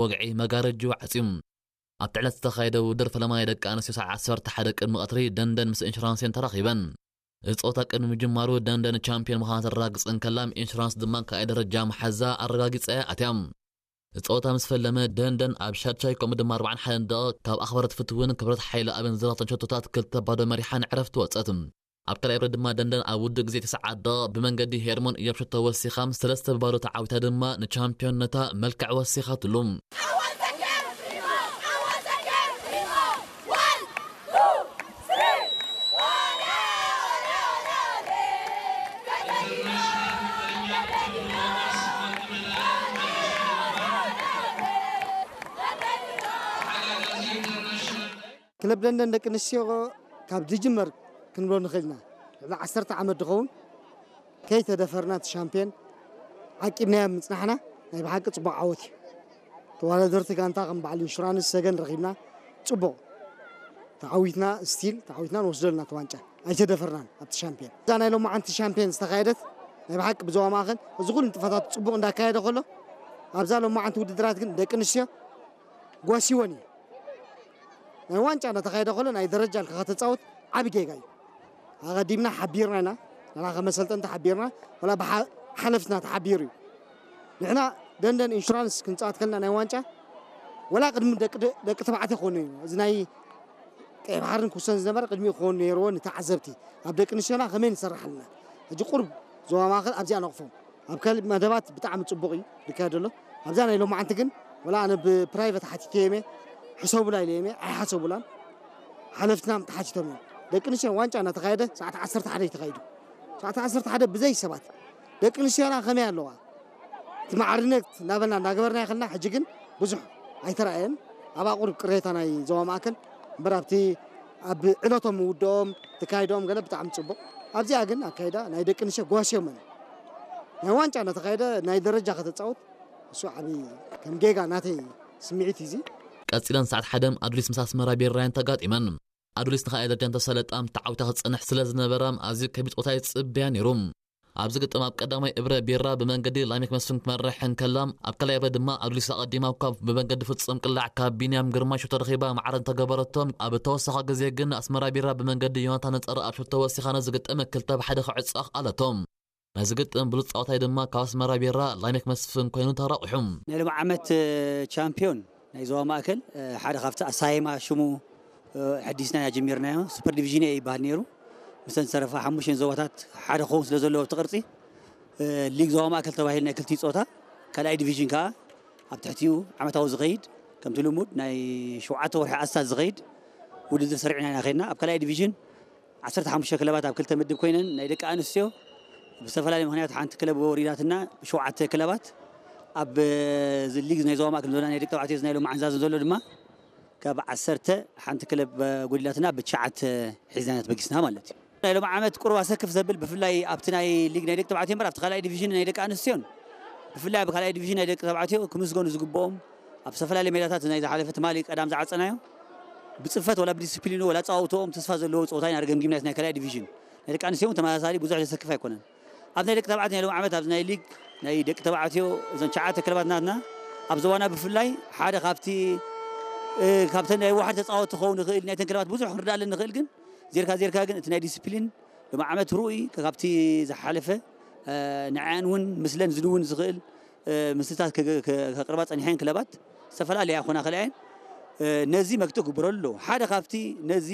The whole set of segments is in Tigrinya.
ወግዒ መጋረጅኡ ዓጽዩ። ኣብቲ ዕለት ዝተኻየደ ውድድር ፈለማ ናይ ደቂ ኣንስትዮ ሰዓት ዓሰርተ ሓደ ቅድሚ ቀትሪ ደንደን ምስ ኢንሹራንስን ተራኺበን። እዚ ጸወታ ቅድሚ ምጅማሩ ደንደን ቻምፒዮን ምዃና ተረጋግጽ እንከላ፣ ኢንሹራንስ ድማ ካልኣይ ደረጃ መሓዛ ኣረጋጊጻ እያ ኣትያ። እቲ ጸወታ ምስ ፈለመ ደንደን ኣብ ሻድሻይ ከምኡ ድማ ኣርባዓን ሓደን ደቂቕ ካብ ኣኽበረት ፍትውን ክብረት ሓይለ ኣብን ዝረኽተን ሸቶታት ክልተ ባዶ መሪሓ ንዕረፍቲ ወጸት። ኣብ ካልኣይ ብረት ድማ ደንደን ኣብ ውዱእ ግዜ ተስዓት ደቂቕ ብመንገዲ ሄርሞን እዮብ ሸቶ ወሲኻ ሰለስተ ብባዶ ተዓዊታ ድማ ንቻምፒዮንነታ መልክዕ ወሲኻትሉ። ክለብ ደንደን ደቂ ኣንስትዮ ካብ ዝጅመር ክንብሎ ንኽእል ኢና። ልዕሊ ዓሰርተ ዓመት ዝኸውን ከይተደፈርና እቲ ሻምፒዮን ዓቂብናዮ ምጽናሕና ናይ ብሓቂ ጽቡቕ ዓወት እዩ። ተወዳደርቲ ጋንታ ከም በዓል ኢንሹራንስ ሰገን ረኺብና ጽቡቕ ተዓዊትና፣ ስቲል ተዓዊትና ንወስደልና እቲ ዋንጫ ኣይተደፈርናን ኣብቲ ሻምፒዮን። እዛ ናይ ሎማዓንቲ ሻምፒዮን ዝተኻየደት ናይ ብሓቂ ብዞባ ማእኸል እዚ ኩሉ ንጥፈታት ጽቡቕ እንዳካየደ ከሎ ኣብዛ ሎማዓንቲ ውድድራት ግን ደቂ ኣንስትዮ ጓሲወን እዩ። ናይ ዋንጫ እናተኻየደ ከሎ ናይ ደረጃ ኢልካ ከተፃወት ዓቢ ጌጋ እዩ። ኣቐዲምና ሓቢርና ኢና፣ ንሕና ከም ኣሰልጠንቲ ሓቢርና፣ ወላ ብሓለፍትና ተሓቢሩ እዩ። ንሕና ደንደን ኢንሹራንስ ክንፃወት ከለና ናይ ዋንጫ ወላ ቅድሚ ደቂ ደቂ ተባዕትዮ ክኾኑ እዩ። እዚ ናይ ቀይ ባሕርን ኩሰን ዝነበረ ቅድሚኡ ክኾኑ ነይርዎ ንተዓዘብቲ ኣብ ደቂ ኣንስትዮና ከመይ ንሰርሕ ኣለና። ሕጂ ቁሩብ ዞባ ማእኸል ኣብዚኣ ነቕፎም። ኣብ ካልእ መደባት ብጣዕሚ ጽቡቕ እዩ ዝካየድ ዘሎ። ኣብዛ ናይ ሎማዓንቲ ግን ወላ ኣነ ብፕራይቨት ሓቲተዮም እየ፣ ሕሰቡላ ኢለዮም እየ፣ ኣይሓሰቡላን። ሓለፍትና ተሓቲቶም እዮም። ደቂ ኣንስትዮ ዋንጫ እናተኻየደ ሰዓት ዓሰርተ ሓደ እዩ ተኻይዱ። ሰዓት ዓሰርተ ሓደ ብዘይ ሰባት ደቂ ኣንስትዮና ከመይ ኣለዋ? እቲ ማዕርነት እናበልና እናገበርና ይኸልና። ሕጂ ግን ብዙሕ ኣይተራእየን። ኣብ ኣቑሩብ ቅሬታ ናይ ዞባ ማእከል እምበር ኣብቲ ኣብ ዕለቶም ምውድኦም ተካይዶም ገለ ብጣዕሚ ጽቡቕ። ኣብዚኣ ግን ኣካይዳ ናይ ደቂ ኣንስትዮ ጓስዮመን ናይ ዋንጫ እናተኻየደ ናይ ደረጃ ከተጻውት እሱ ዓቢ ከም ጌጋ ናተይ ስምዒት እዩ እዚ። ቀጺለን ሰዓት ሓደ ኣዱሊስ ምስ ኣስመራ ቢራየን ተጋጢመን። ኣዱሊስ ንኻልኣይ ደረጃ እንተሰለጣ ተዓዊታ ክትጸንሕ ስለ ዝነበራ ኣዝዩ ከቢድ ጸወታ ይጽበያ ነይሩ። ኣብዚ ግጥም ኣብ ቀዳማይ እብረ ቢራ ብመንገዲ ላሜክ መስፍን ክትመርሕ እንከላ፣ ኣብ ካልኣይ እብረ ድማ ኣዱሊስ ኣቐዲማ እኳ ብመንገዲ ፍጹም ቅላዕ ካብ ቢንያም ግርማይ ሸቶ ረኺባ ማዕረ እንተገበረቶ፣ ኣብ እተወሰኸ ግዜ ግን ኣስመራ ቢራ ብመንገዲ ዮናታን ነጸረ ኣብ ሸቶ ወሲኻ ነዚ ግጥም ክልተ ብ ሓደ ክዕጾ ኣኽኣለቶ። ነዚ ግጥም ብሉጽ ጻወታይ ድማ ካብ ኣስመራ ቢራ ላሜክ መስፍን ኮይኑ ተረቑሑ። ናይ ሎሚ ዓመት ቻምፒዮን ናይ ዞባ ማእከል ሓደ ካብቲ ኣሳይማ ሽሙ ሕዲስና ኢና ጀሚርናዮ። ሱፐር ዲቪዥን ኤ ይበሃል ነይሩ። ምስተን ዝተረፋ ሓሙሽተን ዞባታት ሓደ ክኸውን ስለ ዘለዎ ኣብቲ ቅርጺ ሊግ ዞባ ማእከል ተባሂሉ ናይ ክልቲኡ ጾታ ካልኣይ ዲቪዥን ከኣ ኣብ ትሕቲኡ ዓመታዊ ዝኸይድ ከምቲ ልሙድ ናይ ሸውዓተ ወርሒ ኣስታት ዝኸይድ ውድድር ሰሪዕና ኢና ከይድና። ኣብ ካልኣይ ዲቪዥን ዓሰርተ ሓሙሽተ ክለባት ኣብ ክልተ ምድብ ኮይነን ናይ ደቂ ኣንስትዮ ብዝተፈላለየ ምክንያት ሓንቲ ክለብ ወሪዳትና ብሸውዓተ ክለባት ኣብ ሊግ ናይ ዞባ ማእከል ዞና ናይ ደቂ ተባዕትዮ ናይ ሎማዓንቲ ዛዘን ዘሎ ድማ ካብ ዓሰርተ ሓንቲ ክለብ ጎዲላትና ብትሽዓተ ሒዝና ኢና ተበጊስና ማለት እዩ። ናይ ሎም ዓመት ቁሩብ ኣሰክፍ ዘብል ብፍላይ ኣብቲ ናይ ሊግ ናይ ደቂ ተባዕትዮ እምበር ኣብቲ ካልኣይ ዲቪዥን ናይ ደቂ ኣንስትዮን ብፍላይ ኣብ ካልኣይ ዲቪዥን ናይ ደቂ ተባዕትዮ ክምስገኑ ዝግብኦም ኣብ ዝተፈላለዩ ሜዳታት ናይ ዝሓለፈ ትማሊ ቀዳም ዝዓፀናዮ ብፅፈት ወላ ብዲስፕሊኑ ወላ ኣፀዋውትኦም ተስፋ ዘለዎ ፀወታ ኢና ገምጊምና ናይ ካልኣይ ዲቪዥን ናይ ደቂ ኣንስትዮ እውን ተመሳሳሊ ብዙሕ ዘሰክፍ ኣይኮነን። ኣብ ናይ ደቂ ተባዕትዮ ናይ ሎም ዓመት ኣብዚ ናይ ሊግ ናይ ደቂ ተባዕትዮ እዞን ትሽዓተ ክለባት ናትና ኣብ ዞባና ብፍላይ ሓደ ካብቲ ካብተን ናይ ዋሕዲ ተፃወቲ ክኸውን ይኽእል ናይተን ክለባት ብዙሕ ክንርዳለን ንኽእል ግን ዜርካ ዜርካ ግን እቲ ናይ ዲስፕሊን ሎም ዓመት ርኡይ ካብቲ ዝሓለፈ ንዓን እውን ምስለን ዝድውን ዝኽእል ምስልታት ከቅርባ ፀኒሐን ክለባት ዝተፈላለያ ኮና ከለኣየን ነዚ መግጥእ ግብረሉ ሓደ ካብቲ ነዚ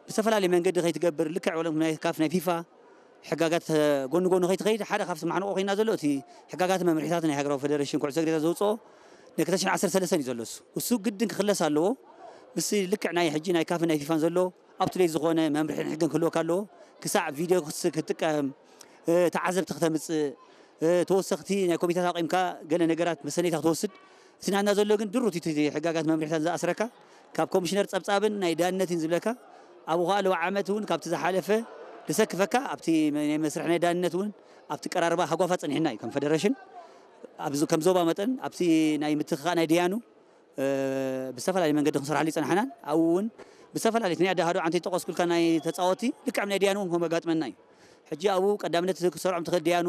ብዝተፈላለየ መንገዲ ከይትገብር ልክዕ ወለም ናይ ካፍ ናይ ፊፋ ሕጋጋት ጎኒ ጎኒ ከይትኸይድ ሓደ ካብቲ ማሕንቆ ኮይና ዘሎ እቲ ሕጋጋት መምርሒታት ናይ ሃገራዊ ፌደሬሽን ኩዕሶ እግሪ ዘውፅኦ ናይ ክልተ ሽሕን ዓሰርተ ሰለስተን እዩ ዘሎ እሱ እሱ ግድን ክኽለስ ኣለዎ ምስ ልክዕ ናይ ሕጂ ናይ ካፍን ናይ ፊፋን ዘሎ up to date ዝኾነ መምርሕን ሕግን ክህልወካ ኣለዎ ክሳዕ ቪድዮ ክትጥቀም ተዓዘብቲ ክተምፅእ ተወሰኽቲ ናይ ኮሚታት ኣቂምካ ገለ ነገራት መሰነይታ ክትወስድ እቲ ናትና ዘሎ ግን ድሩት እቲ ሕጋጋት መምርሕታት ዝኣስረካ ካብ ኮሚሽነር ፀብፃብን ናይ ዳንነትን ዝብለካ ኣብኡ ከዓ ለዋ ዓመት እውን ካብቲ ዝሓለፈ ዝሰክፈካ ኣብቲ ናይ መስርሕ ናይ ዳንነት እውን ኣብቲ ቀራርባ ሃጓፋ ፀኒሕና እዩ ከም ፌደሬሽን ከም ዞባ መጠን ኣብቲ ናይ ምትክኻእ ናይ ድያኑ ብዝተፈላለየ መንገዲ ክንሰርሓሉ ይፀናሕናን ኣብኡ እውን ብዝተፈላለየ ናይ ኣዳሃዶ ዓንተ ጠቀስኩልካ ናይ ተፃወቲ ልክዕም ናይ ድያኑ እውን ከመጋጥመና እዩ ሕጂ ኣብኡ ቀዳምነት ክሰርዖም ትኽእል ድያኑ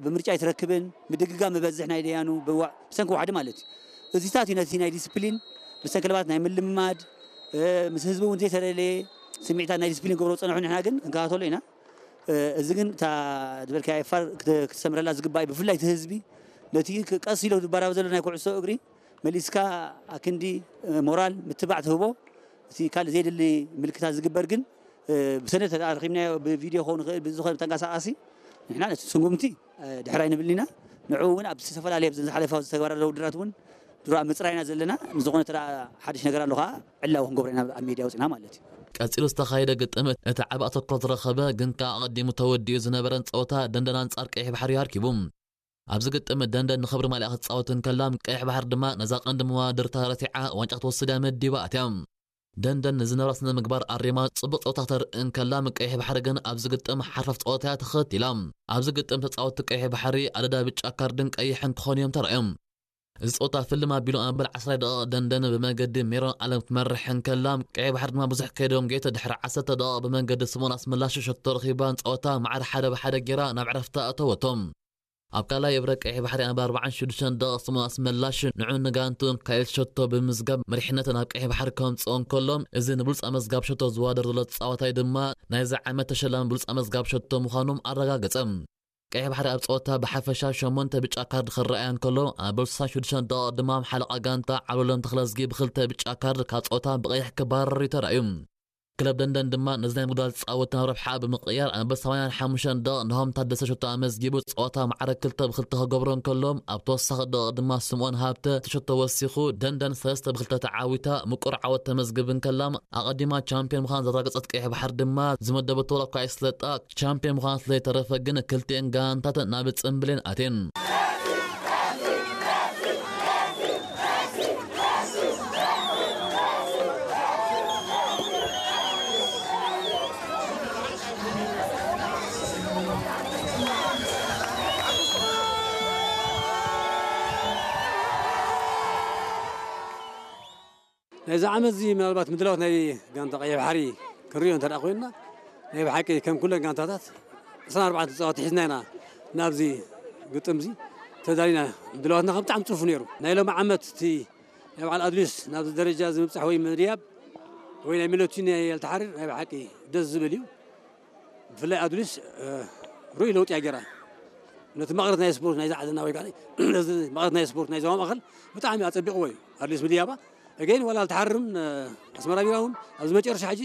ብምርጫ ኣይትረክብን ምድግጋ ምበዝሕ ናይ ድያኑ ብሰንኪ ዋሕዲ ማለት እዩ እዚታት እዩ ነቲ ናይ ዲስፕሊን፣ ምስተን ክለባት ናይ ምልምማድ፣ ምስ ህዝቢ እውን ዘይተለለየ ስምዒታት ናይ ዲስፕሊን ክገብሮ ዝፀንሑ፣ ንሕና ግን ክንከታተሎ ኢና። እዚ ግን እታ ዝበልካያ ኤፋር ክትሰምረላ ዝግባእ እዩ። ብፍላይ እቲ ህዝቢ ነቲ ቀስ ኢሎ ዝባራብ ዘሎ ናይ ኩዕሶ እግሪ መሊስካ ኣክንዲ ሞራል ምትባዕ ትህቦ፣ እቲ ካልእ ዘየድሊ ምልክታት ዝግበር ግን ብሰነድ ተረኺብናዮ፣ ብቪድዮ ክኸውን ይኽእል፣ ብዝኾነ ተንቀሳቃሲ ንሕና ነቲ ስጉምቲ ድሕር ኣይንብልን ኢና። ንዕኡ እውን ኣብ ዝተፈላለየ ኣብዚ ዝሓለፈ ዝተግባራ ዘለዉ ውድድራት እውን ድሮ ኣብ ምፅራይና ዘለና። ንዝኾነ ተራ ሓድሽ ነገር ኣሎ ከዓ ዕላዊ ክንገብሮ ኢና ኣብ ሜድያ ወፂና ማለት እዩ። ቀጺሉ ዝተኻየደ ግጥም እቲ ዓቢ ኣተኩሮ ዝረኸበ ግን ከኣ ኣቐዲሙ ተወዲኡ ዝነበረን ጸወታ ደንደን ኣንጻር ቀይሕ ባሕሪ ኣርኪቡ። ኣብዚ ግጥም ደንደን ንኽብሪ ማልያ ክትጻወት እንከላ፣ ቀይሕ ባሕሪ ድማ ነዛ ቀንዲ መዋድርታ ረቲዓ ዋንጫ ክትወስድ እያ መዲባ ኣትያ። ደንደን ንዝነበራ ስነ ምግባር ኣሪማ ጽቡቕ ጸወታ ክተርኢ እንከላ፣ ቀይሕ ባሕሪ ግን ኣብዚ ግጥም ሓርፋፍ ጸወታ እያ ተኸቲላ። ኣብዚ ግጥም ተጻወትቲ ቀይሕ ባሕሪ ኣደዳ ብጫ ካርድን ቀይሕን ክኾኑ እዮም ተራእዮም። እዚ ጸወታ ፍልም ኣቢሉ ኣብ መበል ዓስራይ ደቂቕ ደንደን ብመንገዲ ሜሮን ኣለም ክትመርሕ እንከላ፣ ቀይሕ ባሕሪ ድማ ብዙሕ ከይደንጎየት ድሕሪ ዓሰርተ ደቂቕ ብመንገዲ ስምኦን ኣስመላሽ ሸቶ ረኺባ ጸወታ ማዕረ ሓደ ብሓደ ጌራ ናብ ዕረፍቲ ኣእተወቶ። ኣብ ካልኣይ እብረ ቀይሕ ባሕሪ ኣብ ኣርባዓን ሽዱሽተን ደቂቕ ስምኦን ኣስመላሽ ንዑ ንጋንቱ ካይል ሸቶ ብምዝጋብ መሪሕነት ናብ ቀይሕ ባሕሪ ከምጽኦ እንከሎ፣ እዚ ንብሉጽ ኣመዝጋብ ሸቶ ዝዋደር ዘሎ ተጻዋታይ ድማ ናይዚ ዓመት ተሸላሚ ብሉጽ ኣመዝጋብ ሸቶ ምዃኑ ኣረጋገጸ። ቀይሕ ባሕሪ ኣብ ጸወታ ብሓፈሻ ሸሞንተ ብጫ ካርድ ክረኣያ እንከሎ፣ ኣብ ስሳን ሽዱሽተን ደቂቕ ድማ ሓለቓ ጋንታ ዓብዱሎም ተኽለዝጊ ብኽልተ ብጫ ካርድ ካብ ጸወታ ብቐይሕ ክባረር እዩ ተራእዩ። ክለብ ደንደን ድማ ነዚ ናይ ምጉዳል ጻወት ናብ ረብሓ ብምቕያር፣ ኣብ ሰማንያን ሓሙሽተን ደቂቕ ናሆም ታደሰ ሸቶ ኣመዝጊቡ ጸወታ ማዕረ ክልተ ብኽልተ ክገብሮ እንከሎ፣ ኣብ ተወሳኺ ደቂቕ ድማ ስምኦን ሃብተ እቲ ሸቶ ወሲኹ ደንደን ሰለስተ ብኽልተ ተዓዊታ ምቁር ዓወት ተመዝግብ እንከላ፣ ኣቐዲማ ቻምፒዮን ምዃን ዘረጋገጸት ቀይሕ ባሕሪ ድማ ዝመደበቶ ዋላ እኳ ኣይስለጣ፣ ቻምፒዮን ምዃን ስለ ዘይተረፈ ግን ክልቲኤን ጋንታት ናብ ጽምብሌን ኣትየን። ናይዚ ዓመት እዚ ምናልባት ምድላዋት ናይ ጋንታ ቀይሕ ባሕሪ ክንሪኦ እንተ ደኣ ኮይንና፣ ናይ ብሓቂ ከም ኩለን ጋንታታት ዕስራን ኣርባዕተን ተጻወትቲ ሒዝና ኢና ናብዚ ግጥም እዚ ተዳሊና። ምድላዋትና ከም ብጣዕሚ ጽፉፍ ነይሩ። ናይ ሎሚ ዓመት እቲ ናይ በዓል ኣድሊስ ናብዚ ደረጃ እዚ ምብጻሕ ወይ ምድያብ ወይ ናይ ሚሎቲኒ ኣልተሓሪር ናይ ብሓቂ ደስ ዝብል እዩ። ብፍላይ ኣዱሊስ እ፣ ርኡይ ለውጢ እያ ገይራ። ነቲ መቐረት ናይ ስፖርት ናይዛ ዓድና ወይ ከዓ ነዚ መቐረት ናይ ስፖርት ናይ ዞባ ማእኸል ብጣዕሚ ኣጸቢቕዎ እዩ ኣዱሊስ ምድያባ። እገይን ዋላ ኣልተሓርም እ፣ ኣስመራ ቢራ እውን ኣብዚ መጨረሻ ሕጂ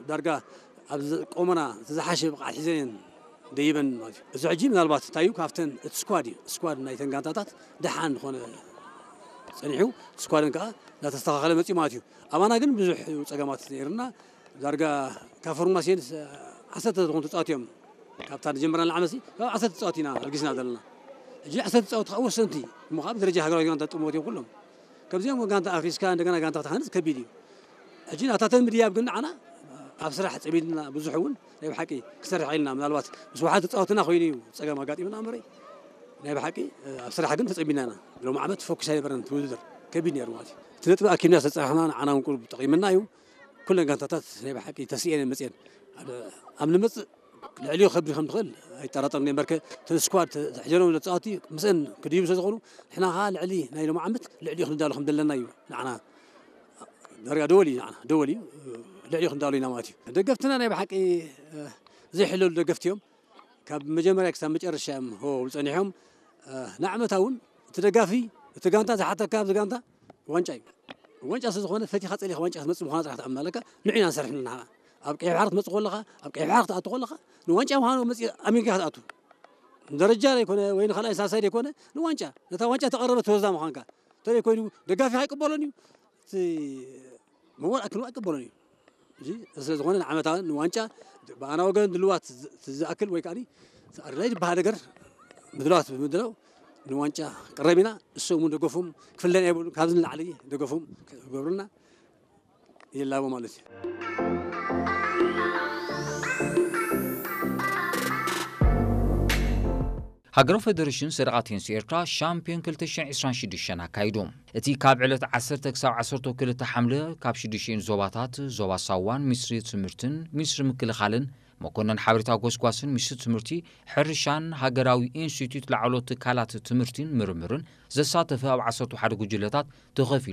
ዳርጋ ኣብ ዝ- ቆመና እቲ ዝሓሸ ብቕዓት ሒዘን እየን ደይበን ማለት እዩ። እዚ ሕጂ ምናልባት እንታይ እዩ ካብተን እቲ ስኳድ እዩ፣ ስኳድ ናይተን ጋንታታት ደሓን ዝኾነ ጸኒሑ፣ እቲ ስኳደን ከዓ እናተስተኻኸለ መፂኡ ማለት እዩ። ኣባና ግን ብዙሕ እዩ ጸገማት ነይርና። ዳርጋ ካብ ፎርማሲዮን ዓሰርተ ዝኾኑ ተፃወት እዮም ካብታ ንጀመርና ንዓመት ካብ ዓሰርተ ተፃወት ኢና ኣልጊስና ዘለና። ሕጂ ዓሰርተ ተፃወት ከዓ ወሰንቲ እሞ ከዓ ብደረጃ ሃገራዊ ጋንታ ጥሞት እዮም ኩሎም። ከምዚኦም ጋንታ ኣፍሪስካ እንደገና ጋንታ ክትሃንፅ ከቢድ እዩ። ሕጂ ናታተን ምድያብ ግን ንዓና ኣብ ስራሕ ፀሚድና ብዙሕ እውን ናይ ብሓቂ ክሰርሕ ኢልና ምናልባት ምስ ውሓድ ተፃወትና ኮይኑ እዩ ፀገም ኣጋጢምና እምበረይ ናይ ብሓቂ ኣብ ስራሕ ግን ተፀሚድና ኢና። ሎም ዓመት ፎክስ ኣይነበረን ትውድድር ከቢድ ነይሩ ማለት እዩ። እቲ ነጥቢ ኣኪብና ዝተፃረሕና ንዓና እውን ቁሩብ ጠቒምና እዩ። ኩለን ጋንታታት ናይ ብሓቂ ተስእየን መፅየን ኣብ ንመፅእ ልዕሊኡ ከብድ ከም ትኽእል ኣይጠራጠርን እየ። እምበርከ እተን ስኳድ ተሕጀሎም ተፃወቲ ምስአን ክድይቡ ስለ ዝኾኑ ንሕና ከዓ ልዕሊ ናይ ሎም ዓመት ልዕሊኡ ክንዳሎ ከም ዘለና እዩ ንዓና ዳርጋ ደወል እዩ ንዓና ደወል እዩ። ልዕሊኡ ክንዳሎ ኢና ማለት እዩ። ደገፍትና ናይ ብሓቂ ዘይሕለሉ ደገፍቲ እዮም። ካብ መጀመርያ ክሳብ መጨረሻ እዮም ሆ ዝፀኒሖም። ንዓመታ እውን እቲ ደጋፊ እቲ ጋንታ ዝሓተካ ኣብዚ ጋንታ ዋንጫ እዩ። ዋንጫ ስለ ዝኾነ ፈቲኻ ፀሊኻ ዋንጫ ክትመፅእ ምዃና ጥራሕ ትኣምን ኣለካ። ንዑ ኢና ንሰርሕ ንሕና ኣብ ቀይሕ ባሕሪ ክትመፅእ ከለኻ ኣብ ቀይሕ ባሕሪ ክትኣቱ ከለኻ ንዋንጫ ምዃኑ መፅእ ኣሚንካ ክትኣቱ ንደረጃ ዘይኮነ ወይ ንካልኣይ ሳልሳይ ዘይኮነ ንዋንጫ ነታ ዋንጫ ተቐረበ ተወዛ ምዃንካ እንተዘይ ኮይኑ ደጋፊ ኣይቅበሎን እዩ። እቲ መወል ኣክሉ ኣይቅበሎን እዩ። እዚ ስለ ዝኾነ ንዓመታዊ ንዋንጫ ብኣና ወገን ድልዋት ዝ- ዝኣክል ወይ ከዓ ኣድላይ ዝበሃል ነገር ምድላዋት ብምድላው ንዋንጫ ቅረብ ኢና። እሶም እውን ደገፎም ክፍለና የብሉ ካብዚ ንላዕሊ ደገፎም ክገብሩና ይላቦ ማለት እዩ። ሃገራዊ ፈደሬሽን ሰደቓ ቴኒስ ኤርትራ ሻምፒዮን ክልተ ሽሕን ዕስራን ሽዱሽተን ኣካይዱ። እቲ ካብ ዕለት ዓሰርተ ክሳብ ዓሰርተ ክልተ ሓምለ ካብ ሽዱሽተን ዞባታት ዞባ ሳዋን ሚኒስትሪ ትምህርትን ሚኒስትሪ ምክልኻልን መኮነን ሓበሬታ ጎስጓስን ሚኒስትሪ ትምህርቲ፣ ሕርሻን ሃገራዊ ኢንስቲትዩት ላዕሎት ትካላት ትምህርቲን ምርምርን ዘሳተፈ ኣብ ዓሰርተ ሓደ ጉጅለታት ተኸፊሉ